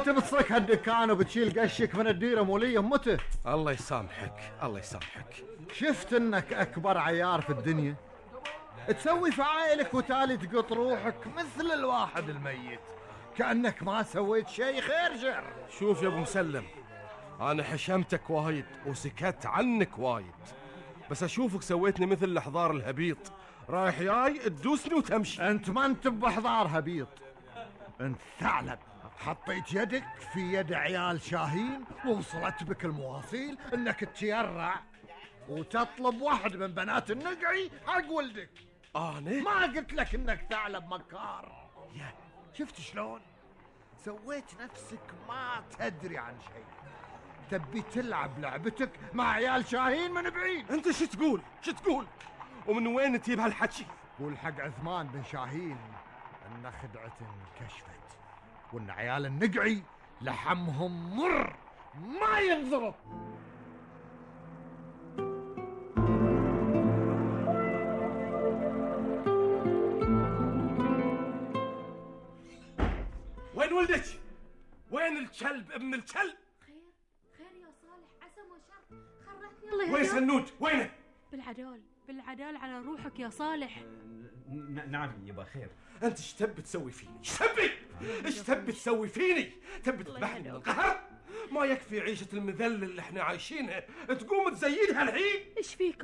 تبصك هالدكان وبتشيل قشك من الديرة مولية متى؟ الله يسامحك الله يسامحك. شفت انك اكبر عيار في الدنيا، تسوي فعايلك وتالي تقط روحك مثل الواحد الميت كأنك ما سويت شيء خير شر. شوف يا ابو مسلم، انا حشمتك وايد وسكت عنك وايد، بس اشوفك سويتني مثل الحضار الهبيط، رايح جاي تدوسني وتمشي. انت ما انت بحضار هبيط، انت ثعلب. حطيت يدك في يد عيال شاهين ووصلت بك المواصيل انك تتيرع وتطلب واحد من بنات النقعي حق ولدك. انا ما قلت لك انك ثعلب مكار؟ شفت شلون سويت نفسك ما تدري عن شيء، تبي تلعب لعبتك مع عيال شاهين من بعيد. انت شو تقول ومن وين تجيب هالحكي؟ قول حق عثمان بن شاهين ان خدعة كشفت وان عيال النقعي لحمهم مر ما ينضرب. وين ولدك؟ وين الكلب ابن الكلب؟ خير يا صالح، عسى ما شر، خرجني الله يهديك. وين سنود؟ وينه؟ بالعدال على روحك يا صالح. نعم يبا خير. انت ايش تبي تسوي فيني؟ ايش تبي تسوي فيني؟ تبي تذبحني من القهر؟ ما يكفي عيشة المذل اللي احنا عايشينها تقوم تزيدها الحين؟ ايش فيكم؟